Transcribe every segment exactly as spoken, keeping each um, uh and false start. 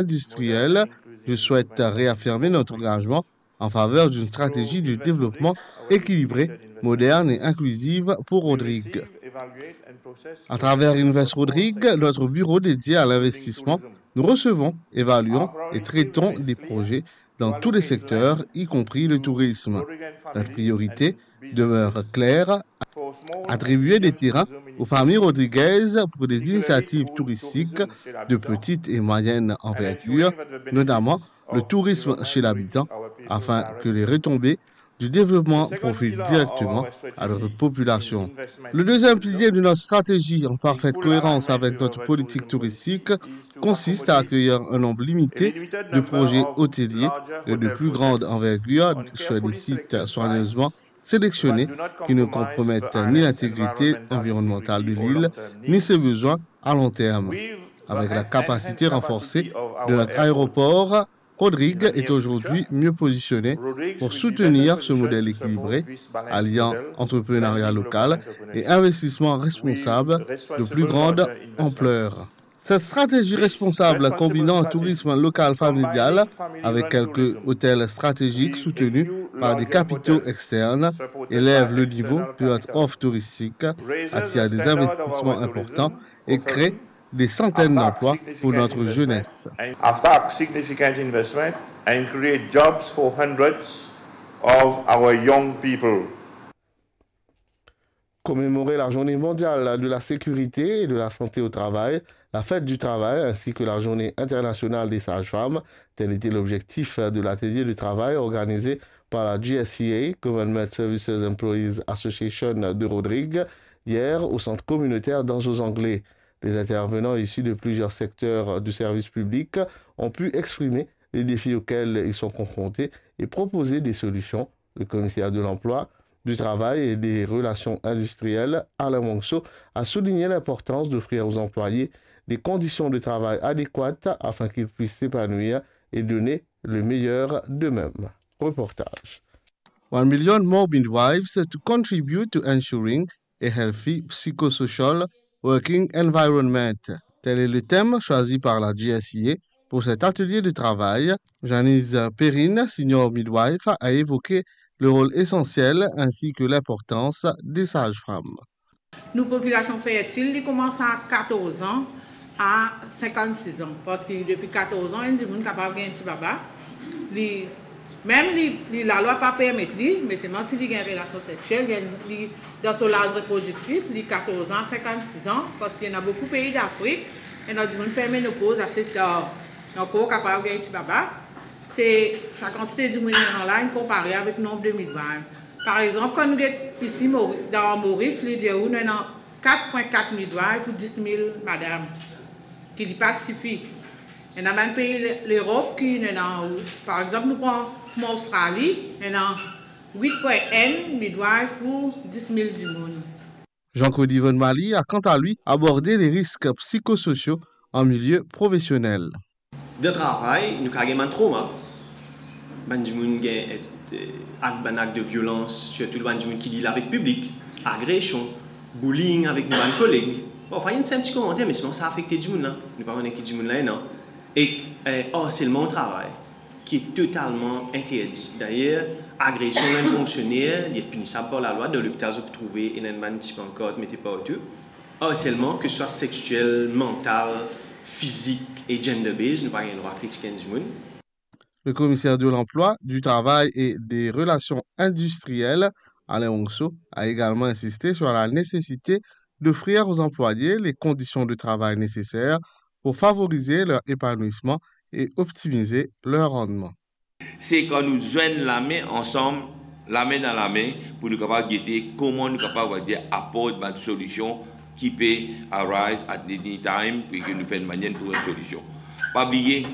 industriel, je souhaite réaffirmer notre engagement en faveur d'une stratégie de développement équilibrée, moderne et inclusive pour Rodrigue. À travers Invest Rodrigue, notre bureau dédié à l'investissement, nous recevons, évaluons et traitons des projets dans tous les secteurs, y compris le tourisme. Notre priorité demeure claire, attribuer des terrains aux familles rodriguaises pour des initiatives touristiques de petite et moyenne envergure, notamment le tourisme chez l'habitant, afin que les retombées du développement profitent directement à leur population. Le deuxième pilier de notre stratégie, en parfaite cohérence avec notre politique touristique, consiste à accueillir un nombre limité de projets hôteliers et de plus grande envergure sur des sites soigneusement sélectionnés qui ne compromettent ni l'intégrité environnementale de l'île, ni ses besoins à long terme. Avec la capacité renforcée de notre aéroport, Rodrigue est aujourd'hui mieux positionné pour soutenir ce modèle équilibré, alliant entrepreneuriat local et investissement responsable de plus grande ampleur. Cette stratégie responsable combinant tourisme local familial avec quelques hôtels stratégiques soutenus par des capitaux externes élève le niveau de notre offre touristique, attire des investissements importants et crée des centaines d'emplois pour notre jeunesse. Aftac significant investment and create jobs for hundreds of our young people. Commémorer la Journée mondiale de la sécurité et de la santé au travail, la fête du travail ainsi que la Journée internationale des sages-femmes, tel était l'objectif de l'atelier de travail organisé par la G S E A, Government Services Employees Association de Rodrigue, hier au centre communautaire d'Anse aux Anglais. Les intervenants issus de plusieurs secteurs du service public ont pu exprimer les défis auxquels ils sont confrontés et proposer des solutions. Le commissaire de l'emploi, du travail et des relations industrielles, Alain Wangso, a souligné l'importance d'offrir aux employés des conditions de travail adéquates afin qu'ils puissent s'épanouir et donner le meilleur d'eux-mêmes. Reportage. One million more midwives to contribute to ensuring a healthy psychosocial working environment. Tel est le thème choisi par la G S E A pour cet atelier de travail. Janice Perrine, senior midwife, a évoqué le rôle essentiel ainsi que l'importance des sages-femmes. Nou popilasion fertil, li koumans a katorz an a sinkannsis an, parski depi katorz an, enn dimoun kapav gagn ti baba. Li, mem li, li, lalwa pa permet li, me selman si li gagn relasion seksiel, li, li dan so laz reprodiktif, li katorz an a sinkannsis an, parski ena boukou pei Dafrik, ena dimoun fer menopoz ase tar. Ankor kapav gagn ti baba. Se sa kantite dimoun ena la, inn konpare avek nonb de midwife. Par exanp, kan nou get isi Mori-, dan Moris, li dir ou nou ena kat pwin kat midwife pou dis mil madam, ki li pa sifi. Ena bann pei Le-, Lerop ki ena, par exanp, nou pran kouma Ostrali, ena wit pwin enn midwife pou dis mil dimoun. Jean-Claude Yvonne Mali a, quant à lui, abordé les risques psychosociaux en milieu professionnel. Dan travay, nou kapav gagn bann trauma. Bann dimoun gagn, eh, ak bann ak de violans, sirtou bann dimoun ki deal avek piblik, agresion, bullying avek nou bann koleg. Parfwa, inn fer enn ti komanter, me selman sa afekte dimoun la. Nou pa kone ki dimoun la ena. Ek, eh, arselman o travay, ki totalman interdi. Dayer, agresion enn fonksioner, li et pinisab par lalwa. Dan lopital, zot pou trouve ena enn bann ti pankart mete partou. Arselman, ke swa seksiel, mantal, fizik e gender-based, nou pa gagn drwa kritik enn dimoun. Le commissaire de l'emploi, du travail et des relations industrielles, Alain Wangso, a également insisté sur la nécessité d'offrir aux employés les conditions de travail nécessaires pour favoriser leur épanouissement et optimiser leur rendement. Se kan nou zwenn lame ansam, lame dan lame, pou nou kapav gete kouma nou kapav, on va dire, aport bann solision ki pe arise at any time, pou ke nou fer enn manier nou trouv enn solision. Pa bliye,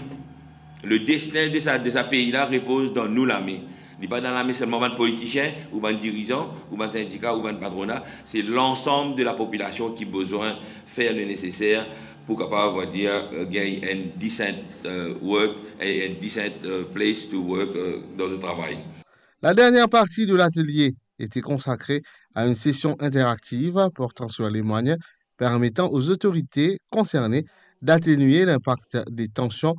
le destin de sa, de sa pei la repoz dan nou lame. Li pa dan lame selman bann politisien, ou bann dirizan, ou bann sindika, ou bann patrona. Se lansam de lapopilasion ki bizin fer le neseser pou kapav, on va dire, euh, gagn enn decent, euh, work, enn, enn decent, euh, place to work, euh, dan zot travay. La dernière partie de l'atelier était consacrée à une session interactive portant sur les moyens permettant aux autorités concernées d'atténuer l'impact des tensions